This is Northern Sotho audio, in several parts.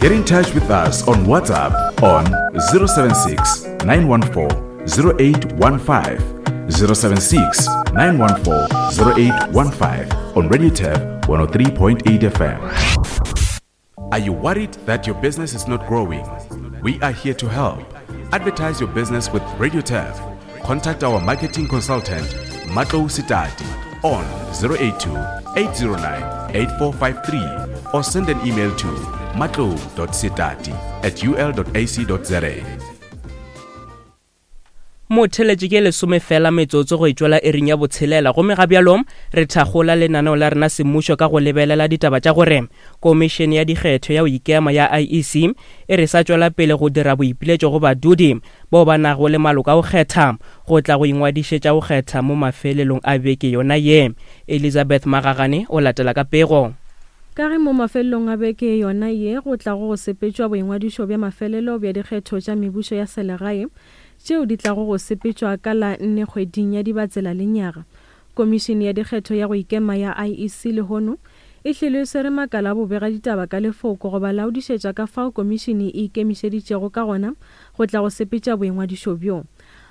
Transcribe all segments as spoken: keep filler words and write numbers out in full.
Get in touch with us on WhatsApp on zero seven six, nine one four, zero eight one five, zero seven six, nine one four, zero eight one five on Radio Turf one oh three point eight F M. Are you worried that your business is not growing? We are here to help. Advertise your business with Radio Turf. Contact our marketing consultant, Matlou Sitati, on zero eight two, eight zero nine, eight four five three or send an email to matlou dot sitati at u l dot a c dot z a. Motheletše ke lesome fela metsotso go itšwela ering ya botshelela, gomme ga bjalo re thakgola lenaneo la rena semmušo ka go lebelela ditaba tša gore komišene ya dikgetho ya go ikema ya I E C e re sa tšwela pele go dira boipiletšo go badudi bao ba nago le maloko a go kgetha go tla go ingwadišetša go kgetha mo mafelelong a beke yona ye. Elizabeth Magagane o latela ka pego. Ka ge mo mafelelong a beke yona ye go tla go sepetšwa boingwadišo bja mafelelo bja dikgetho tša mebušo ya selegae tšeo di tlago go sepetšwa ka la nne kgweding ya Dibatsela lenyaga. Komišene ya dikgetho ya go ikema ya I E C lehono e hlile e swere makala a bobega ditaba ka lefoko go ba laodišetša ka fao komišene e ikemišeditšego ka gona go tla go sepetša boingwadišo bjo.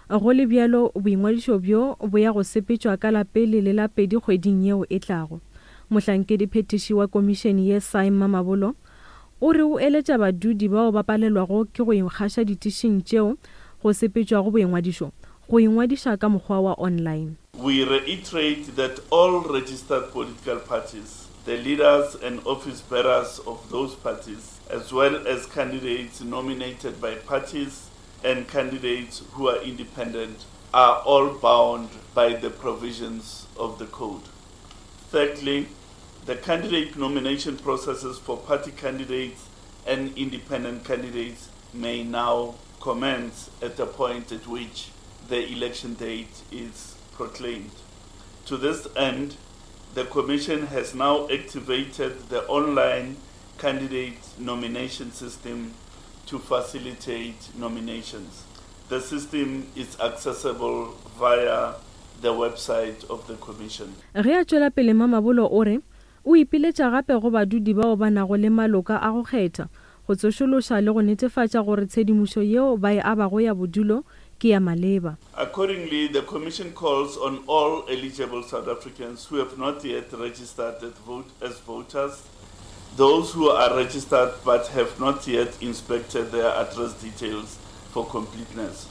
Go le bjalo, boingwadišo bjo bo ya go sepetšwa ka la pele le la pedi kgweding yeo e tlago. Mohlankedi phetiši wa komišene ye Saim Mamabolo o re o eletša badudi bao ba palelwago ke go ikgaša ditišing tšeo go sepetšwago boingwadišo go ingwadiša ka mokgwa wa online. We reiterate that all registered political parties, the leaders and office bearers of those parties, as well as candidates nominated by parties and candidates who are independent, are all bound by the provisions of the code. Thirdly, the candidate nomination processes for party candidates and independent candidates may now commence at the point at which the election date is proclaimed. To this end, the Commission has now activated the online candidate nomination system to facilitate nominations. The system is accessible via the website of the Commission. Ge a tšwela pele Mamabolo o re o ipiletša gape go badudi bao ba nago le maloka a go kgetha go tsošološa le go netefatša gore tshedimošo yeo ba e abago ya bodulo ke ya maleba. Accordingly, the Commission calls on all eligible South Africans who have not yet registered at vote as voters, those who are registered but have not yet inspected their address details for completeness,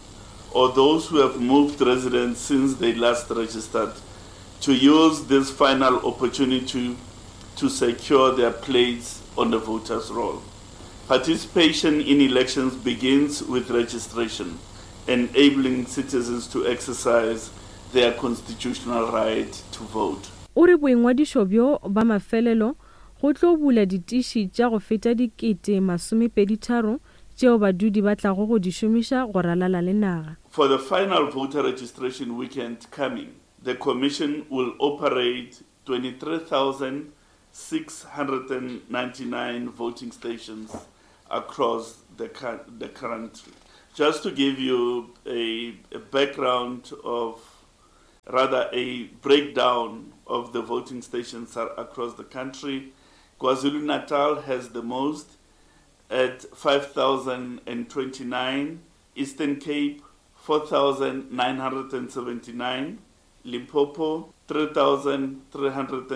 or those who have moved residence since they last registered, to use this final opportunity to secure their place on the voters' roll. Participation in elections begins with registration, enabling citizens to exercise their constitutional right to vote. O re boingwadišo bjo ba mafelelo go tlo bula ditiši tša go feta dikete masomepedi tharo tšeo badudi ba tlago go di šomiša go ralala le naga. For the final voter registration weekend coming, the Commission will operate twenty-three thousand six hundred ninety-nine voting stations across the, cou-, the country. Just to give you a, a background of, rather a breakdown of the voting stations across the country, KwaZulu-Natal has the most at five thousand twenty-nine, Eastern Cape four thousand nine hundred seventy-nine, Limpopo three thousand three hundred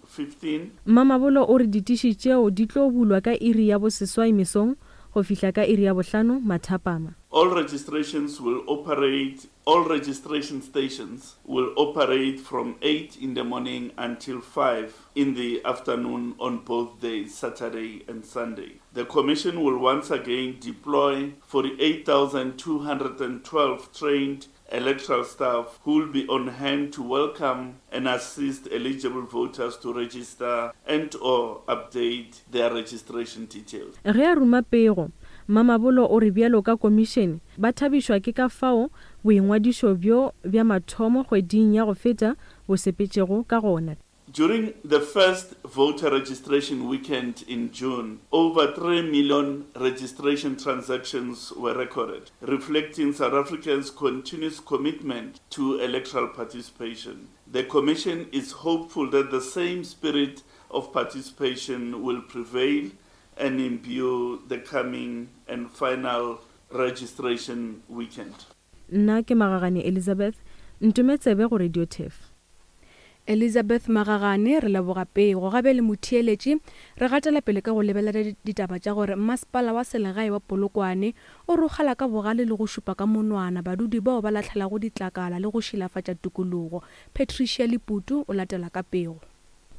fifteen. Mamabolo o re ditiši tšeo di tlo bulwa ka iri ya boseswai mesong go fihla ka iri ya bohlano mathapama. All registrations will operate, all registration stations will operate from eight in the morning until five in the afternoon on both days, Saturday and Sunday. The Commission will once again deploy forty-eight thousand two hundred twelve trained electoral staff who will be on hand to welcome and assist eligible voters to register and or update their registration details. Ge a ruma pego, Mamabolo o re bjalo ka komišene ba thabišwa ke ka fao boingwadišo bjo bja mathomo kgweding ya go feta bo sepetšego ka gona. During the first voter registration weekend in June, over three million registration transactions were recorded, reflecting South Africans' continuous commitment to electoral participation. The Commission is hopeful that the same spirit of participation will prevail and imbue the coming and final registration weekend. Nna ke Magagane Elizabeth, ntome tsebe go Radio Turf. Elizabeth Magagane, re leboga pego. Gabe le motheeletši, re gatela pele ka go lebelela ditaba tša gore masepala wa selegae wa Polokwane o rogala ka bogale le go šupa ka monwana badudi bao ba lahlelago ditlakala le go šilafatša tikologo. Patricia Leputu o latela ka pego.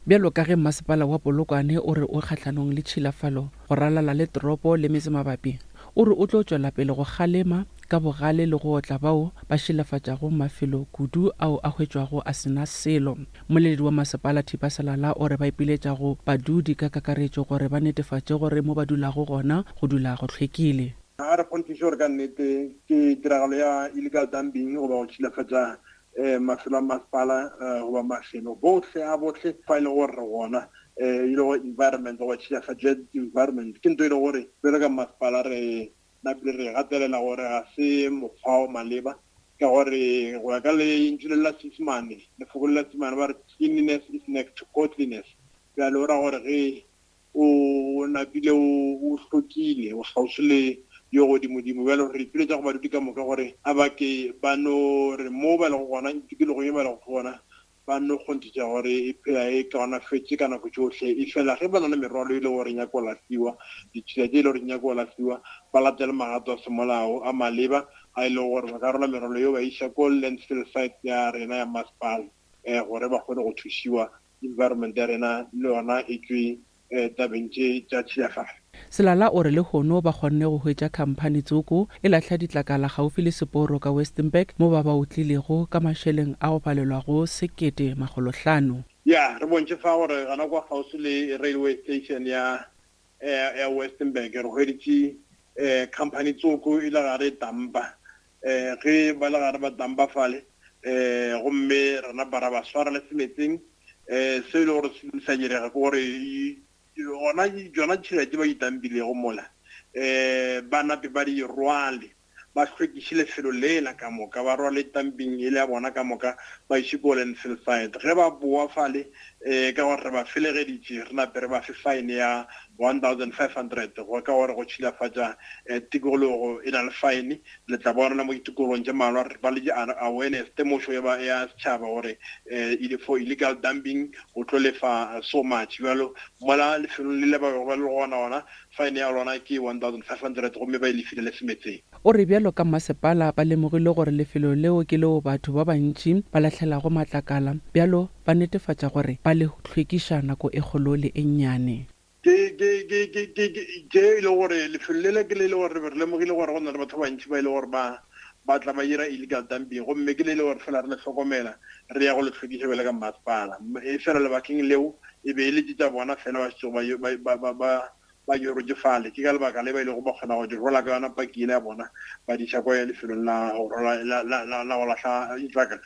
Bjalo ka ge masepala wa Polokwane o re o kgahlanong le tšhilafalo go ralala le toropo le metse mabapi, o re o tlo tšwela pele go kgalema ka bogale le go otla bao ba šilafatšago mafelo kudu ao a hwetšwago a sena selo. Mmoleledi wa masepala Thipa Selala o re ba ipiletša go badudi ka kakaretšo gore ba netefatše gore mo ba dulago gona go dula go hlwekile. Ga re kgonthiše gore ka nnete ke tiragalo ya illegal dumping goba go tšhilafatša eh mafelo a masepala goba mafelo bohle a bohle fa e le gore re gona eh e le gore environment goba tšhilafatšo environment ke ntho e le gore bjalo ka masepala re napile re gatelela gore ga se mokgwa o maleba ka gore go ya ka lentšu le la Seesemane, lefoko le la Seesemane ba re cleanliness is next to godliness. Bjale o ra gore ge o napile o hlokile o kgauswi le yo godimodimo. Bjale re ipiletša go badudi ka moka gore a ba ke ba no re mo ba lego gona tikologong ye ba lego gona ba no kgonthiša gore e phela e kaonafetše ka nako tšohle. E fela ge ba na le merwalo e le gore nyako go lahliwa, ditšhila tše e le gore nyako go lahliwa, ba latele magato a semolao a maleba a e lego gore ba ka rola merwalo yeo ba iša ko landfill site ya rena ya masepala um gore ba kgone go thušiwa environment ya rena le yona e tšwe tabeng tše tša tšhilafalo. Selala o re lehono ba kgonne go hwetša khamphani tsoko e lahla ditlakala gaufi le seporo ka Westenburg mo ba ba otlilego ka mašeleng a go palelwago sekete makgolo hlano. Ya re bontšhe fa gore gona kwa kgauswi le railway station ya ya Westenburg re hweditše um company tsoko e le gare e dampa um ge ba le gare ba dampa fale um gomme rena bara ba swara le semetseng um se e le gore se sa direga ke gore gona tšona tšhila tše ba di dampilego mola um ba nape ba di rwale ba hlwekiše lefelo lela ka moka, ba rwale dumping e le ya bona ka moka ba iše ko landfill site. Ge ba boa fale um ka gore re ba felegeditše re nape re ba fe fine ya one thousand five hundred go ka gore go tšhilafatša tikologo e na le fine. Le tla bona mo ditikologong tše mmalwa re ba le awareness temošo ya setšhaba gore um for illegal dumping o tlo lefa so much. Bjalo mola lefelong le le ba bego ba le gona gona fine ya lona ke one thousand five hundred gomme ba e lefile le semetseng. O re bjalo ka masepala ba lemogile gore lefelo leo ke leo batho ba bantši ba lahlelago matlakala, bjalo ba netefatša gore ba le hlwekiša nako e kgolo le e nnyane. Ke ke ke ke ke ke e le gore lefelo lele ke le le gore re lemogile gore go na le batho ba bantši ba e le gore ba ba tla ba dira illegal dumping gomme ke le le gore fela re le hlokomela re ya go le hlwekiša bjale ka masepala. E fela lebakeng leo e be e le tša bona fela ba šetšego ba ba ba ba yorotše fale. Ke ka lebaka le ba ilego ba kgona go di rola ka yona paki ya bona ba di iša kwa lefelong la go rola la la la go lahla ditlakala.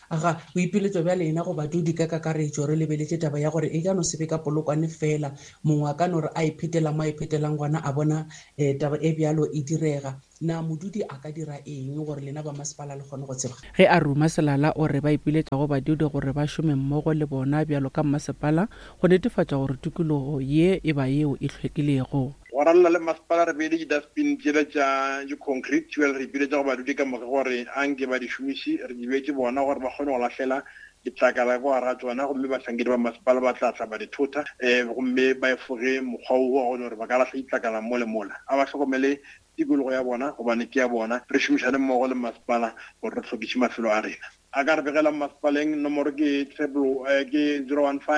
Aga boipiletšo bja lena go badudi ka kakaretšo re lebeletše taba ya gore e ka no se be ka Polokwane fela, mongwe a ka no re a iphetela mo a iphetelang gona a bona um taba e bjalo e direga. Na modudi a ka dira eng gore lena ba masepala le kgone go tseba? Ge a ruma Selala o re ba ipiletša go badudi gore ba šome mmogo le bona bjalo ka masepala go netefatša gore tikologo ye e ba yeo e hlwekilego. Go ralala le masepala re beile di-dustbin tšela tša di-concrete bjale re ipiletša go badudi ka moka gore a nke ba di šomiše, re di beetše bona gore ba kgone go lahlela ditlakala ka gare ga tšona gomme bahlankedi ba masepala ba tla tla ba di thota um gomme ba efoge mokgwa wo wa gore ba ka lahla ditlakala mo le mola. A ba hlokomele tikologo ya bona gobane ke ya bona, re šomišane mmogo le masepala gore re hlwekiše mafelo a rena. A ka re begela masepaleng, nomoro ke triple ke zero one five